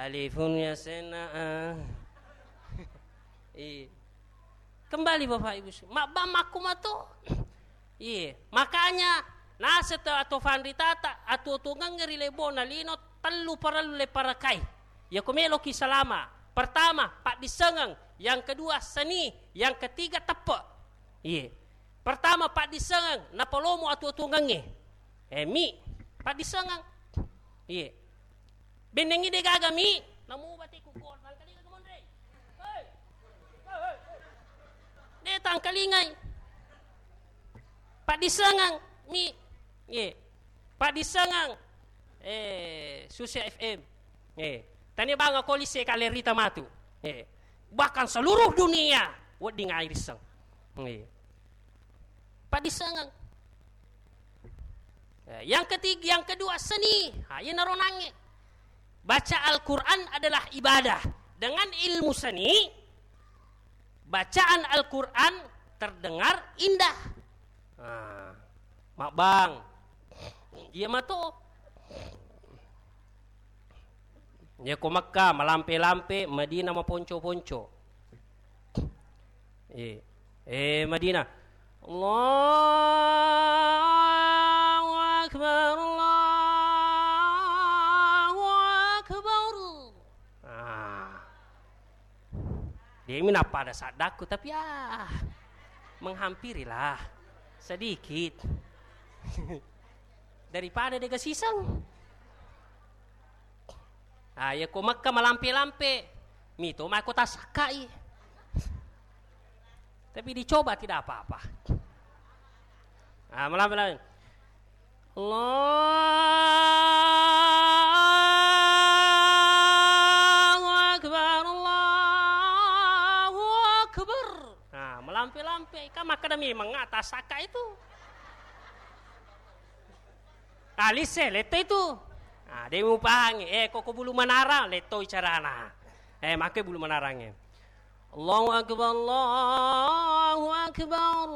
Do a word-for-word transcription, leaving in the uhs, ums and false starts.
Alifun ya sena, ah. Iya. Kembali Bapak Ibu, mabbang makkumato. Iya, makanya naseng atau fanritata atuo-tuongengnge ri lebona lino tellu parellu le parakai. Yako meloki salama, pertama paddissengeng, yang kedua seni, yang ketiga teppe. Iya. Pertama paddissengeng, napalomo atuo-tuongengnge. Eh, mi, paddissengeng. Iya. Bennengngi de gaga mi, namu bate ku gor, tangkalinga ke monre. Hei. Hei, hei, hei. De tangkalingai. Paddissengeng mi. Iya. Paddissengeng. Eh, Susi F M. Eh, tania banga kolisi kale rita matu. Eh, bahkan seluruh dunia wedding airisseng. Eh. Paddissengeng. Eh, yang ketiga, yang kedua seni. Ha, iya naronangnge. Baca Al-Quran adalah ibadah. Dengan ilmu seni, bacaan Al-Quran terdengar indah. Ah, mabbang. Iya mato. Iya ko Mekka malampe-lampe, Madinah maponco-ponco. Eh, eh, Madinah. Allahu Akbar, Allahu Akbar. Ah. De'mi nappada saddakku, tapi, ah, menghampirilah sedikit. Daripada dega siseng. Ah, iya ko Mekka malampe-lampe, mito mako tasakkai. Tapi dicoba tidak apa-apa. Ah, malampe-lampe. Allahu Akbar, Allahu Akbar. Nah, melampe-lampe. Kan makkeda memang atas saka itu. Ah, lise, letto itu. Ah, de mupahangi. Eh, koko bulu manara, letto carana. Eh, make bulu manarangnge. Allahu Akbar, Allahu Akbar.